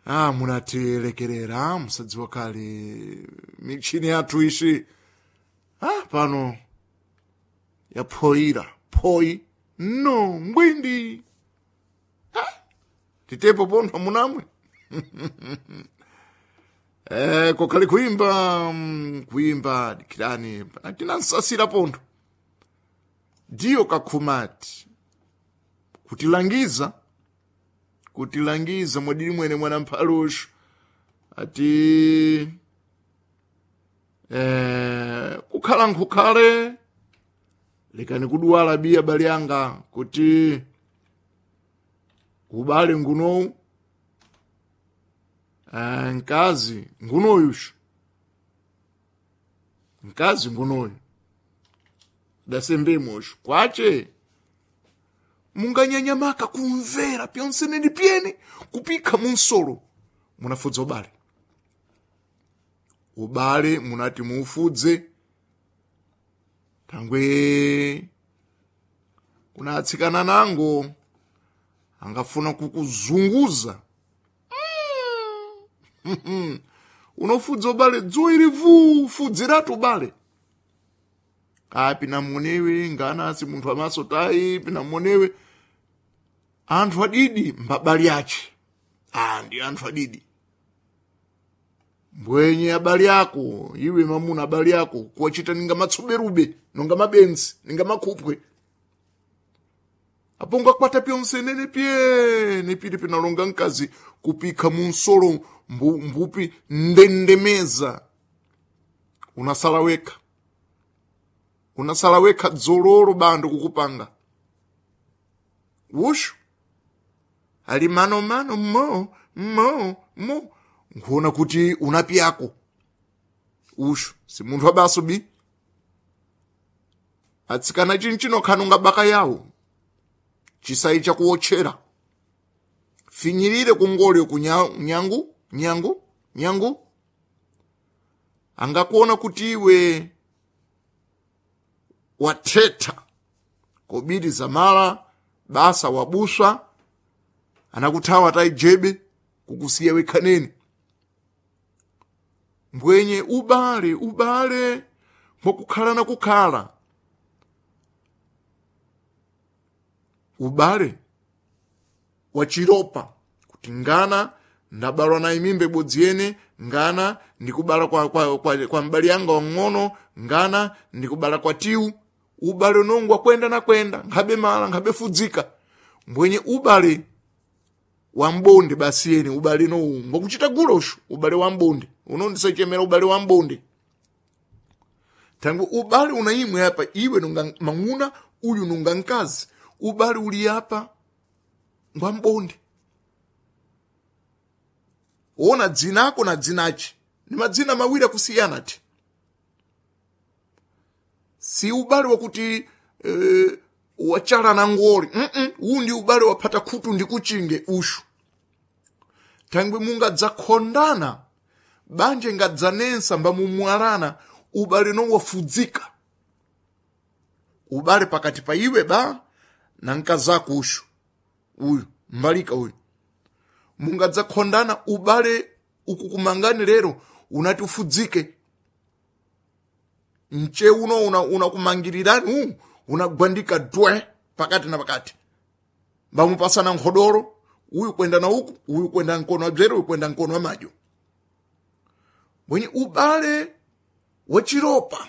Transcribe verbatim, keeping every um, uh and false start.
Ah, munatilekerera musadziwa kale michini yathu ishi ah, pano yaphoyira phoyi no ngwindi ah, titepo pontho munamwe eh, kokhale kuimba mm, kuimba dikirani tinansasira pontho ndiyo kakhumati kutilangiza kutilangiza mwadili mwene mwana mphaluxo ati eh, kukhala nkukhale lekani kuduwala biya bali yanga kuti ubale ngunowu eh, nkazi ngunoyuxo nkazi ngunoyu dasembemosho kwace munganyanyamaka kumvera pyonseneni pyene kupikha munsolo munafudza ubale ubale munati muufudze thangwe kuna atsikana nango angafuna kukuzunguza mm. unofudza ubale dzuwa ili vuu fudziratu ubale api namuonewe ngana asi munthu amaso tayi pinamuonewe anthu adidi mbabali ache ah ndi anthu adidi mbwenye abali ako iwe mamuna abali ako kuwachita ninga matsoberube nonga mabenzi ninga makhupwe apo ngakwata pyonsenene pyene pili pinalonga mkazi kupikha munsolo mbu, mbupi ndendemeza unasala wekha unasala wekha dzololo bando kukupanga wushu ali manomano mo mo mo nkuona kuti unapyako ushu si munthu wabaso bi atsikana chinchino khanunga baka yawo chisayi chakuwotchera finyirire kungolyo ku nyangu nyangu nyangu angakuona kuti iwe wathetha kobiri zamala basa wabuswa anakuthawa taijebe kukusiya wekhaneni mbwenye ubale ubale mwakukhala na kukhala ubale wachiropa kuti ngana ndabalwa na imimbe ibodzi yene ngana ndikubala kwa, kwa, kwa, kwa mbali yanga wang'ono ngana ndikubala kwa tiwu ubale unongo wakwenda na kwenda nkhabe mala nkhabe fudzika mbwenye ubale wa mbonde basi yene ubale nowu ngokuchita gulosho ubale wa mbonde unondisachemera ubale wa mbonde tangu ubale unaimwe apa iwe nunga mang'una uyu nunga mkazi ubale uli apa ngwa mbonde ona dzinako na dzinachi ni madzina mawiri akusiyana ti si ubale wakuti e, wachala na ngoli mm -mm, uwu ndi ubale waphata khutu ndi kuchinge ushu thangwe mungadzakondana banja ngadzanensa mbamumwalana ubale no wafudzika ubale pakati pa iwe ba na mkazako ushu uyu mbalika uyu mungadzakondana ubale ukukumangani lero unati ufudzike mche uno unakumangirirani una unagwandika dwe pakati na pakati mbamupasana nkhodoro uyu kwenda na uku uyu kwenda mkono wa bzere uyu kwenda mkono wa madyo mwenye ubale wachiropa